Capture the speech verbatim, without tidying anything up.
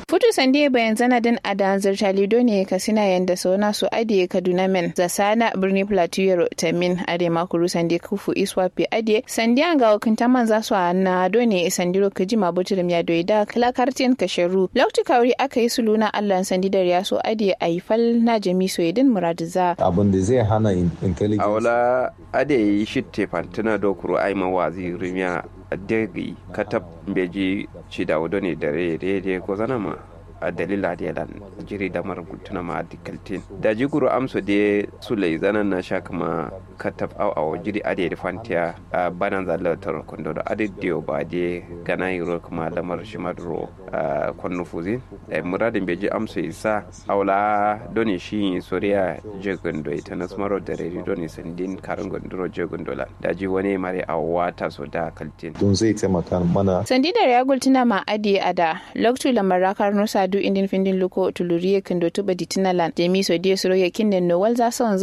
Futu sande bayanzana dǝn adǝ anzǝr talido ne kasina yanda sona so adǝ ye kaduna men zasana birni plateau yero tamin adǝ ye ma kuru sande kufu iswafe adǝ ye sande angawo kǝntamanza so a na do ne sandiro kǝjima butǝrǝm ya doi da kǝla kartin kasharu loktu kawuri aka yi suluna allan sande dariya so adǝ ye ayi fal na jami so ye dǝn muradǝza. Abin da zai hana intelligence. Awo la adǝ ye yi shitte fantǝna do kuru aima wazi rimiya degi katab mbeji cidawu done dare dai dai gozanama. A dalil adǝ ye lan jiri damar gultǝnama adǝ kaltin daji kuru amso dai sulai zanan na sha kǝma katab au awo jiri adǝ ye dǝ fantiya. Bananza latar kondo do adǝ diyo ba dai gana yiro kǝma lamar shima duro. Konnu fuzin dai muradin beji amso isa awo la done shi soriya jegin doi tanas maro dareri done sandin karin gunduro jegin dolan daji wane mare awo wata so da kaltin. Tun zai taimaka mana. Sandi dare ya gultuna ma adǝ ye ada loktu lamar rakar nusa du indin findin luko tuluriye kindo tuba ditina lan jami so diye suro yakin nen no walza son.